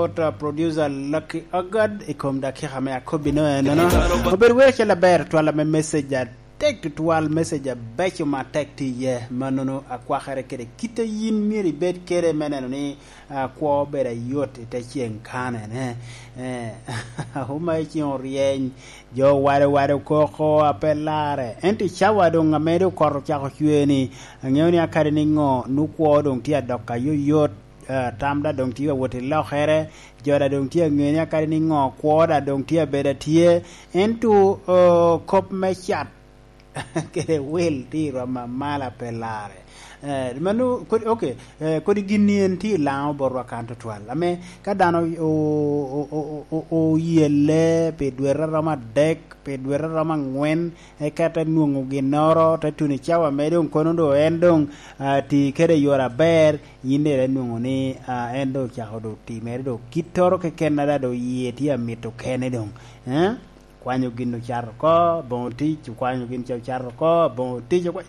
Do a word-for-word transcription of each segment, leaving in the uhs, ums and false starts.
Dr. Producer Lucky Ogod i kom dakika me akobbi no enono. Obedo wero cel aber twal ame message atek tutwal, message abeco ma tek tye iye. Manono akwakere kede kite yin myero ibed kede me neno ni, ah, kwo obedo ayot i te ceng kanene. Eh, Uma i ceng oryeny, jo wade wade okoko a pe larre. Ento i cawa doŋ ame doŋ kot ocako cwe ni, aŋeo ni akadi niŋo, nu kwo doŋ tye adok ayoyot, eh, tam da doŋ tye ka wot i lokere, jo da doŋ tye aŋeo ni akadi niŋo, kwo da doŋ tye abedo atye. Ento, eh, kop me cat kede wil tye i rwom amalo a pe larre. Eh, mano, kodi, ok, eh, kodi gin-ni en tye i Laŋo botwa kan tutwal. Ame ka dano o-, o-, o-, o-, o-, oyelle pi dwete a romo adek, pi dwete a romo aŋwen, eka te nwoŋo ginnoro, te tuno i cawa me doŋ kono doŋ en doŋ, ah, ti kede yore aber, yin daŋ ite nwoŋo ni, ah, en doŋ ocako doŋ timere doŋ kittoro keken a daŋ doŋ yie tye amito kene doŋ. Eh? Kwanyo gin ocato oko, boŋo tic, okwanyo gin ca ocato oko, boŋo tic, okwa-,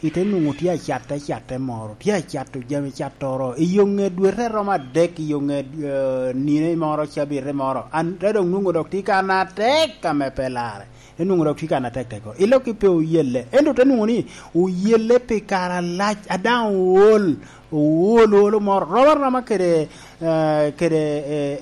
ite nwoŋo tye acatte, acatte moro, tye acato jami cattoro, i yo ŋe dwete romo adek, i yo ŋe, eh, nino moro, cabite moro, an te doŋ nwoŋo dok tye kan atek ame pe larre, te nwoŋo dok tye kan atek tek. I lok pe oyelle, ento te nwoŋo ni oyelle pi kare alac, a daŋ ool, ool, ool moro, romo aroma kede, eh, kede, eh,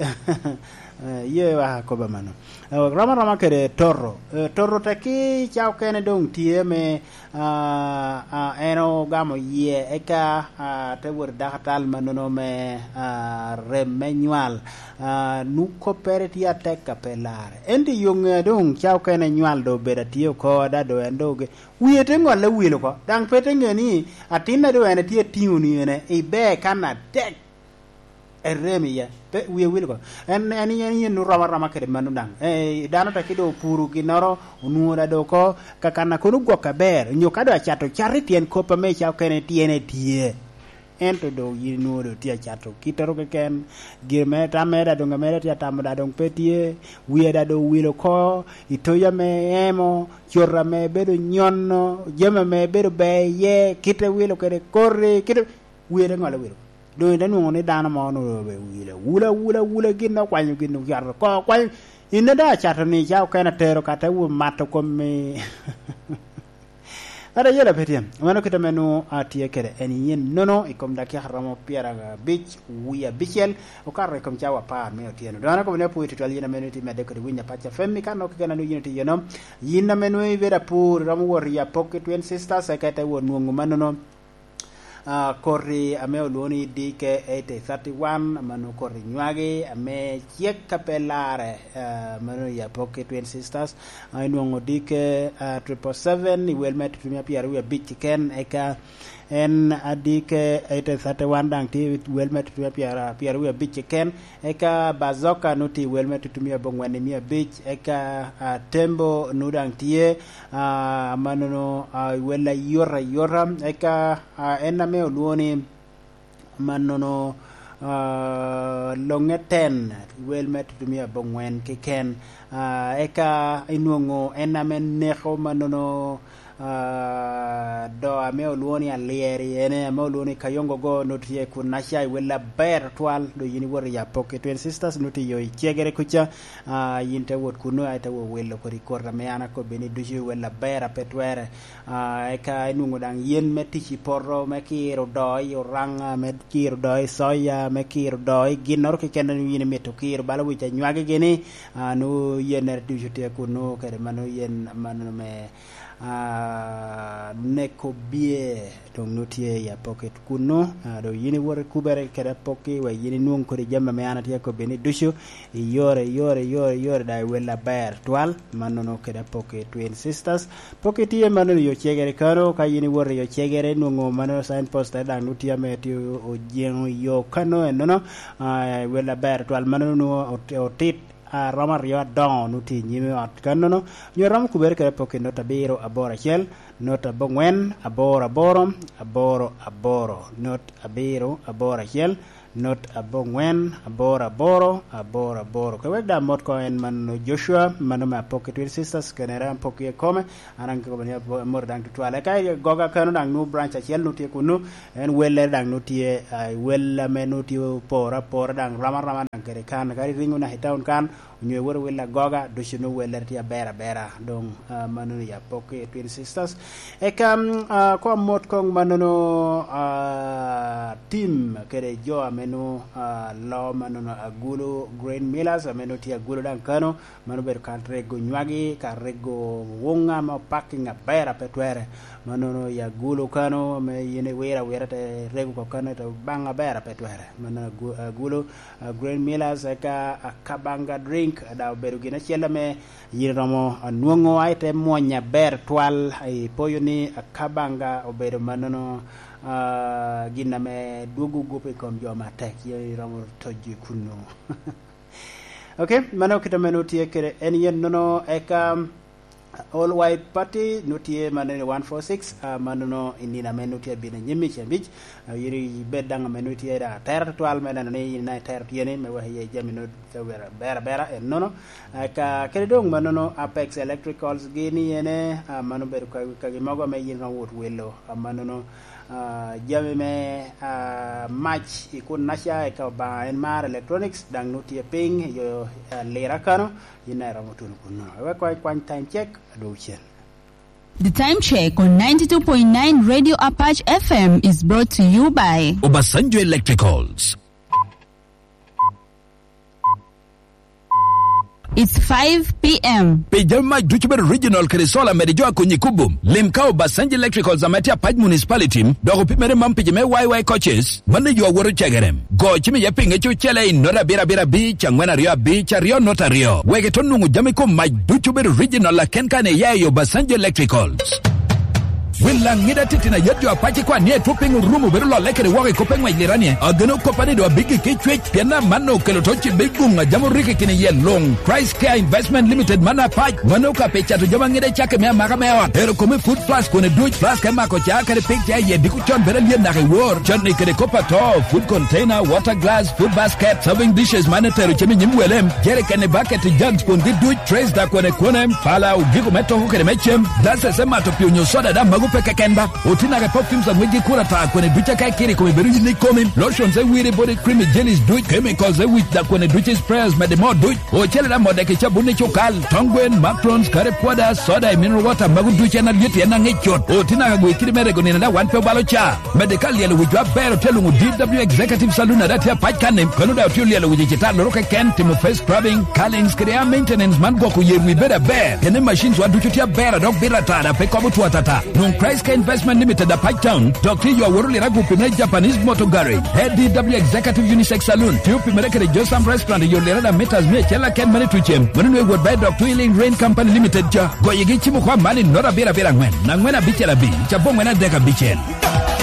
eh, ye wa koba mano. Eh, romo aroma kede toto. Eh, toto tekki ca okene doŋ tye me, ah, ah, en ogamo yie, eka, ah, te wot i dakatal manono me, ah, rem me nywal. Ah, nu koppere tye atek a pe larre. Ento i yo ŋe doŋ ca okene nywal doŋ obedo atye oko, ada doŋ en doŋ oge-, wie te ŋolle wil oko. Daŋ pe te ŋe ni atinna doŋ en tye atiŋo ni ene, ibe kan atek. Erem iye. Pe, wie wil oko. En, en, en, en yen romo aroma kede mano daŋ. Eh, dano tekki doŋ opuro ginnoro, onwoŋo da doŋ oko, ka kan a kono gwok aber, onyo ka doŋ acato cat i tyen kop ame ca okene tyene tye. Ento doŋ yin inwoŋo doŋ tye acato kittoro keken, gin mere tam mere da doŋ amere tye atamo da doŋ pe tye, wie da doŋ owil oko, itoyi ame emo, cot ame bedo nyono, jami ame bedo ber iye, kite wilo kede koti, kite, wie te ŋolo wilo. Doŋ ite nwoŋo ni dano mo onwoŋo be wilo, wula, wula, wula, gin okwanyo gin ocato oko, okwanyo, in a daŋ acato ni ca okene atero ka te wo mato komi. Ata yela pe tye. Mano kite ame nwoŋo atye kede en yen nono i kom dakika romo pyerabic wie abicel, okato i kom cawa apar me otyeno. Doŋ an akobo ni apwoyo tutwal yin ame nwoŋo itye medde kede winyo Apac F M, i kan nwoŋo keken a nwoŋo yin itye iye no. Yin ame nwoŋo ibedo apur, iromo wot i Apok i Twin Sisters, eka ite wot nwoŋo manono. Ah, koti ame olwoŋo ni D K eighty thirty-one, mano koti nywagi ame cek a pe larre, ah, mano i Apok i Twin Sisters. Ah, inwoŋo D K, ah, triple seven i wel me tutumia pyeraryo abic keken, eka en, ah, D K eighty thirty-one daŋ tye i wel me tutumia pyera-, pyeraryo abic keken, eka Bazoka nu tye i wel me tutumia abongwen i mia abic, eka, ah, Tembo nu daŋ tye, ah, manono, ah, i wel ayot ayota, eka, ah, en ame olwoŋo ni manono, ah, Loŋe Ten, wel me tutumia abongwen keken, ah, eka inwoŋo en ame neko manono, ah, do ame olwoŋo ni Alyeri, en ame olwoŋo ni Kayongo go, nu tye kun aca i wel aber twal, do yin iwoto i Apok i Twin Sisters, nu tye yo i Cegere kuca, ah, yin te wot kuno, ai te wot wilo kodi koti ame an akobbi ni ducu i wel aber a pe twere. Ah, eka inwoŋo daŋ yen me tic i poto, me kiro doo i Oraŋa, me kiro doo i soya, me kiro doo i ginnoro keken a nwoŋo yin imito kiro, bala wic anywagigi ni, ah, nwoŋo yennere ducu tye kuno, kede mano yen, mano me, ah, neko bye, doŋ nwoŋo tye i Apok kuno, ah, doŋ yin iwot ikubere kede Apok-ki, wek yin inwoŋ kodi jami ame an atye akobbi ni ducu, i yore, i yore, i yore, i yore, daŋ i wel aber twal, mannono kede Apok i Twin Sisters. Pok itye mano i Ocegere kano, ka yin iwoto i Ocegere, inwoŋo mano signpost daŋ nwoŋo tye ame tye ojeŋo i yo kano ennono, ah, i wel aber twal mano nwoŋo ot-, otit, ah, romo aryo adoŋo nwoŋo tye i nyim ot kannono, nyo romo kubere kede Apok i not abiro aboro acel, not abongwen, aboro aboro, aboro aboro, not abiro aboro acel, Not aboŋwen, aboro aboro, aboro aboro. Ka wek daŋ amot koŋ en mano Joshua, mano me Apok i Twin Sisters, kene daŋ Apok i kome, an daŋ kikobo ni abo-, amot daŋ tutwal. Eka i Goga kano daŋ nu branch acel nu tye kunu, en wellere daŋ nu tye, ah, i wel ame nu tye oporo apora daŋ rom aroma daŋ kede kan. Kadi ringo naka i town kan, onyo iwoto i wil agoga, ducu nwoŋo wellere tye aber abera. Doŋ, ah, mannono ya pok i Twin Sisters. Eka, mm, ah, koŋ amot koŋ mannono, ah, tim kede jo ame nwoŋo, ah, loo mannono Agulu Grain Millers, ame nwoŋo tye Agulu daŋ kano, mano obedo ka rego nywagi, ka rego wuŋ ame opaking aber a pe twere. Mannono i Agulu kano, ame yin iwiro awira te rego oko kano, te baŋ aber a pe twere. Mano Agu-, Agulu, ah, Grain Millers, eka Akabanga Drink, daŋ obedo gin acel ame yin iromo nwoŋo, a ite mwony aber twal. Ipoyo ni Akabanga obedo mannono, ah, gin ame dwogo gup i kom jo matek, yin iromo tojo i kunnu. Ok, mano kit ame nwoŋo tye kede en yen nono, eka All White Party nwoŋo tye mannono i one four six, ah, mannono i nino ame nwoŋo tye abino anyim i cen abic. Ah, yin ibed daŋ ame nwoŋo itye daŋ atera tutwal me neno ni yin daŋ itero tyeni me weko iye jami nwoŋo te wero abera abera en nono. Ah, ka, kede doŋ mannono Apex Electricals gini ene, ah, mano obedo ka, kagi mogo ame yin iromo wot wilo, ah, mannono, ah, jami me, ah, mac i kun naca, eka Obaŋa en mar electronics, daŋ nwoŋo tye piny i yo, ah, Lira kano, yin daŋ iromo tuno kunno. Ewek koŋ ikwany time check, adwogo cen. The time check on ninety-two point nine Radio Apache F M is brought to you by Obasanjo Electricals. It's five p.m. Pi jami mac ducu bedo original kede solar, mede jo a konyi kubo. Lim ka Obasanjo Electricals ame tye Apac Municipality, dok opimere mam pi jo me Y Y coaches, mano yo awoto cegere. Go cim iye pi ŋec ocele i not abiro abiro abic, angwen aryo abic, aryo not aryo. Wek ito nwoŋo jami kom mac ducu bedo original, laken ka ne iya i Obasanjo Electricals. Wil laŋ ŋida titino ayet jo apac ikwan ni etwo piny orumo bedo lolle kede woko i kop eŋwec liranie. Ageno koppa ni do abiggi ki cwec, pien amanno okelo to cibe i guŋ a jam oriki kine iye luŋ. Christ Care Investment Limited man apac, mano ka pe cato jami aŋida i cakke me amaka me ot. Ero kome food plus kone duc, plus ka imako ca kede pig ca iye diko con bedo alyen naka i wor. Con ni kede kop ato, food container, water glass, food basket, serving dishes man etero cem i nyim welem, jerikeni, bucket, jugs kun gi duc, trays da kone kone, pala, ogiko me toko kede me cem, glasses me mato pi onyo soda da mago pe keken ba. Oti naka perfumes a ŋwec gi kura ta kone duc aka ikiri kome bedo yin ikomi, lotions e wiri body cream i jellies duc, chemicals e wic da kone duc i sprayers mede mo duc. Ocele da modde ki cabun i cukal, tong gwen, macarons, curry powder, soda i mineral water, mago duc en alyet en aŋic cut. Oti naka gwe kidi me rego nino da wan pe obalo ca. Mede ka lyelo wicwa aber otye luŋo D W Executive Saloon ada tye apac kan-ni, kano da otye olyelo wic i citalloro keken, timo face scrubbing, curlings kede hair maintenance man gwoko yer wi bedo aber. Kene machines wa ducu tye aber a dok bito ata da pe kobo two atata. Nwoŋ Christ Care Investment Limited apac town, dok tye yo aworo lira gupi me Japanese Motor Garage. A D W Executive Unisex Saloon, tye opimere kede Josam Restaurant i yo lira da meters mia acel aken mene tucem. Mano nwe wot ba i dok Twilling Rain Company Limited ca. Goyegi cimo kwa man i not abiro abiro angwen, angwen abicel abic, aboŋwen adek abicel.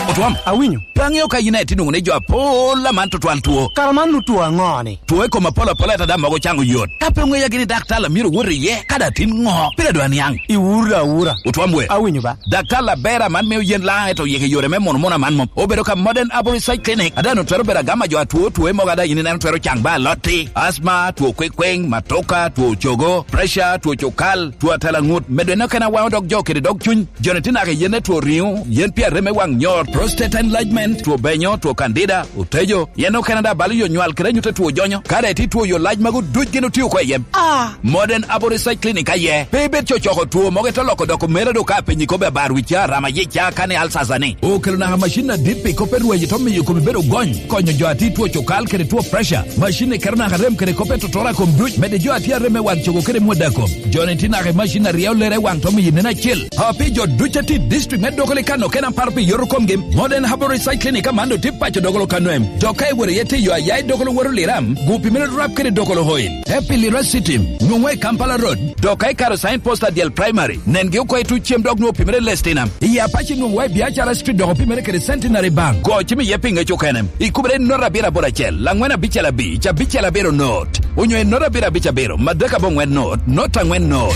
Otwam. Awinyo. Pe aŋeo ka yin aye tye nwoŋo ni jo apol aman tutwal two. Kara man nu two aŋo-ni? Two i kom apol apol ata da mogo caŋo yot. Ka pe oŋeya gini daktar a myero wot iye, ka da tin ŋo? Pire dwa niaŋ. Iwura awura. Otwam we. Awinyo ba. Daktar aber aman mio yen laŋ eto yeke yore me mono mono aman mom. Obedo ka Modern Arborist Side Clinic. Ada nu twero bedo agama jo atwo two mogo ada yin ineno twero caŋ ba alotti. Asma, two kwekweng, matoka, two cogo, pressure, two cukal, two atela ŋut. Medo eno kena waŋo dok jo kede dog cuny. Joni tye naka i yen me two riŋo, yen pi arem me waŋ nyor, prostate enlargement, two benyo, two candida, otejo, yen okene da balo yo nywal kede anyut a two jonyo. Ka daŋ itye two yo lac magu duc gin otio oko i yem. Ah! Modern Aboriginal Clinic aye. Pe ibed cocoko two mogo ito loko doko mera do ka apenyi kobbe abar wica, rama yica, kani alsasa ni. Okelo naka macin adit pi kop erwaci to miyo kome bedo gony, konyo jo a tye two cukal kede two pressure. Macin ni keto naka rem kede kop etotoro a kom duc, mede jo a tye arem me wang cogo kede mwod a kom. Joni tye naka i macin a ryeo lere i wang to miyo nen acil. A pi jo duc a tye i district me Dogoli kano kena paro pi yoto komgi, Modern Herbal Research Clinic aman do tye paco Dogolo kano em. Dok ka iwoto iye tye yo a ya i Dogolo woto Liram, gu pi mere rap kede Dogolo Oil. Te pi Lira City, nwoŋo i Kampala Road. Dok ka ikaro sign post a dyel primary, nengi oko i tuc cem dok nwoŋo pi mere Lestina. I Apache nwoŋo wa i Biacara Street dok opimere kede Centenary Bank. Go cim iye pi ŋec okene. Ikubere i not abiro aboro acel, angwen abicel abic, abicel abiro not. Onyo i not abiro abic abiro, madek aboŋwen not, not angwen not.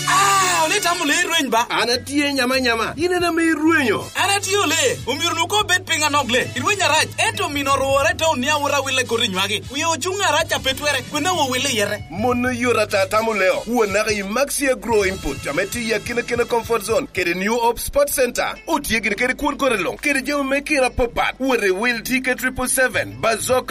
Ah, olitamo lee rweny. Ba, an atye nyama nyama, in en ame irwenyo. An atye ole, omyero nu ko bed piny anok le. Irweny arac, ento mino orwore te onia wot awille koti nywagi. Wie ocuŋ arac a pe twere, kwena wo wille yete. Mon oyot ata tamo leo, wo naka i Maxi Agro Input, ame tye i akina kina comfort zone, kede New Hope Sports Center. Otye gini kede kwon kore luŋ, kede jami me kira papat. Wot i wil T K triple seven, Bazoka,